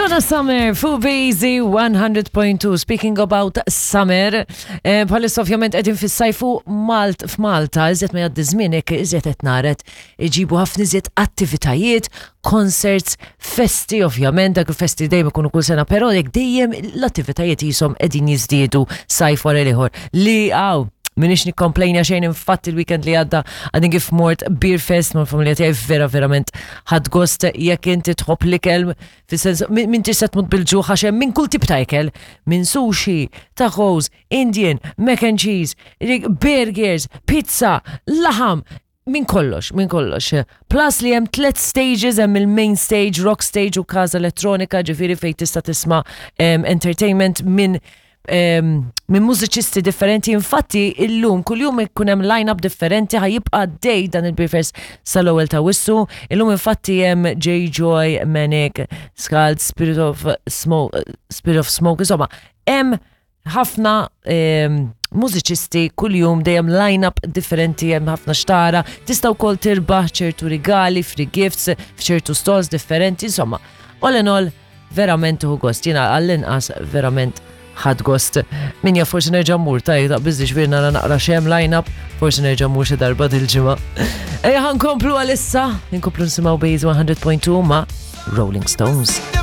Donna Summer fuq Bazy 100.2. Speaking about summer, eh, bħalissa ovvjament qegħdin fis-sajfu Malt f'Malta, iżjed ma jgħaddi żmien hekk iżjed qed naret iġibu ħafna iżjed attivitajiet, concerts, festi ovvjament, dak il-festi dejjem ikunu kull sena, però jekk dejjem l-attivitajiet jisom qegħdin jiżdiedu sajf wara l-ieħor. Li għaw, minix nikkomplejna xejn infatti il-weekend li għadda għadin kif mort Beer Fest mal familja tiegħi vera verament ħadd gost jekk inti tħobb l-ikel fis-sens minn tista' tmut bil-ġuħ għax hemm minn kull tip ta' ikel, minn sushi, tacos, Indian, mac and cheese, burgers, pizza, laħam, minn kollox, minn kollox. Plus li hemm tlet stages, hemm il-main stage, rock stage u kaza elettronika, ġifieri fejn tista' tisma' entertainment minn minn mużiċisti differenti. Infatti, illum kuljum ikun hemm line-up differenti ħajibqa' dej dan il-Beerfest sal-ewwel ta' Wissu. Illum infatti hemm J Joy, Manic, Skald, Spirit of Smoke, Spirit of Smoke, insomma, hemm ħafna ehm, mużiċisti kuljum dejjem line-up differenti hemm ħafna xtara, tista' wkoll tirbaħ ċertu rigali, free gifts f'ċertu stalls differenti, insomma, all in all verament tuħu gost. Jiena għall-inqas verament ħadd gost. Min jaf forsi nerġa' mmur taj taqbiż ġifieri nara naqra xem line-up, forsi nerġa' mmur xi darba dil-ġimgħa. Ejja ħankomplu għalissa, nkomplu nisimgħu Base 100.2 ma' Rolling Stones.